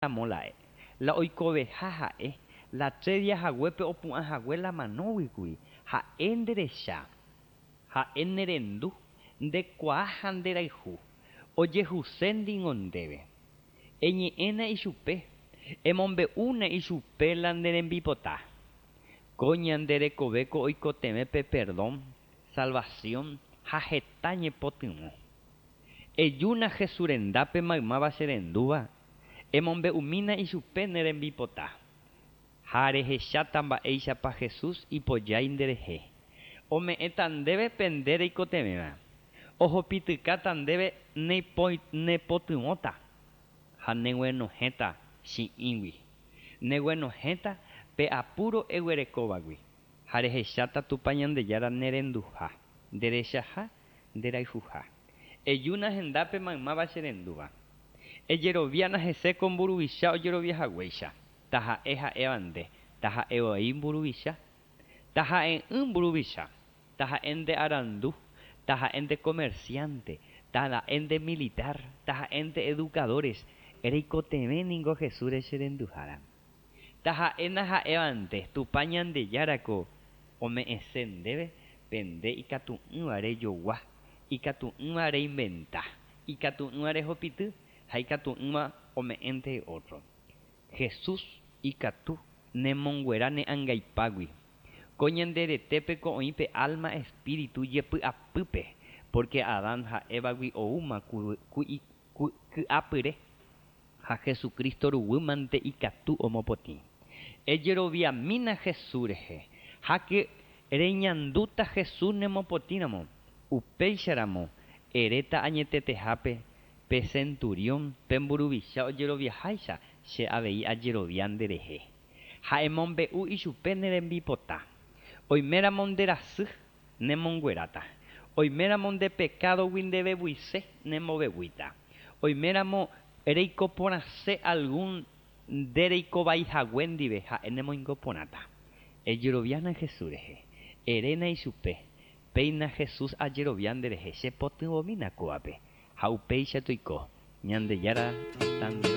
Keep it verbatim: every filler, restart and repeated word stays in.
Ramo la oikoveha ha'e, la tres días haguépe opu'ã hague la manóguikuri. Ha'e nderecha, ha'e nerendu, ndekuaa ha nderayhu. Ojehuse ningo ndéve. Eñe'ẽna ichupe, emombe'úna ichupe la ne rembipota. Ko ñande rekovéko oikotevẽ pe perdón, salvación ha heta ñepotyvõ. Ejúna Jesús rendápe maymáva cherendúva, emombe'umína ichupe ne rembipota. Ha rehecháta mba'éichapa Jesús ipojái nderehe. Ome'ẽta ndéve pe nde reikotevẽva. Ohopitykáta ndéve nepotyvõta ha neguenohẽta chi'ĩgui. Neguenohẽta pe apuro eguerekóvagui ha rehecháta Tupã Ñandejára nerenduha, nderechaha, nderayhuha. Ejúna hendápe maymáva cherendúva. Ejeroviána hese ko mburuvicha ojeroviahaguéicha. Taha'e ha'éva nde, taha'e voi mburuvicha, taha'e'ỹ mburuvicha, taha'e nde arandu, taha'e nde comerciante, taha'e nde militar, taha'e nde educadores, reikotevẽ ningo Jesús cherenduhára. Taha'éna ha'éva nde, Tupã Ñandejárako ome'ẽse ndéve pe nde ikatu'ỹva rejogua, ikatu'ỹva reinventa, ikatu'ỹva rehopity ha ikatu'ỹva ome'ẽnte otro. Jesús ikatu nemonguera ne angaipágui. Ko ñande retépeko oĩ pe alma espíritu jepy'apýpe, porque Adán ha Evagui oúma ky'apyre ha Jesucristo ruguýmante ikatu omopotĩ. Ejeroviamína Jesús rehe háke reñandúta Jesús nemopotĩramo. Upéicharamo eréta añetetehápe pe centurión pe mburuvicha ojeroviaháicha che avei ajerovia nderehe. Ha emombe'u ichupe ne rembipota. Oiméramo nderasy nemongueráta. Oiméramo nde pekádogui ndevevuise nembovevuíta. Oiméramo reiko porãse algún nde reikovaihague ndive ha'e nemoingo porãta. Ejeroviána Jesús rehe. Eréna ichupe. Péina Jesús ajerovia nderehe chepotyvõmína kóvape. Ha upéicha toiko. Ñandejára.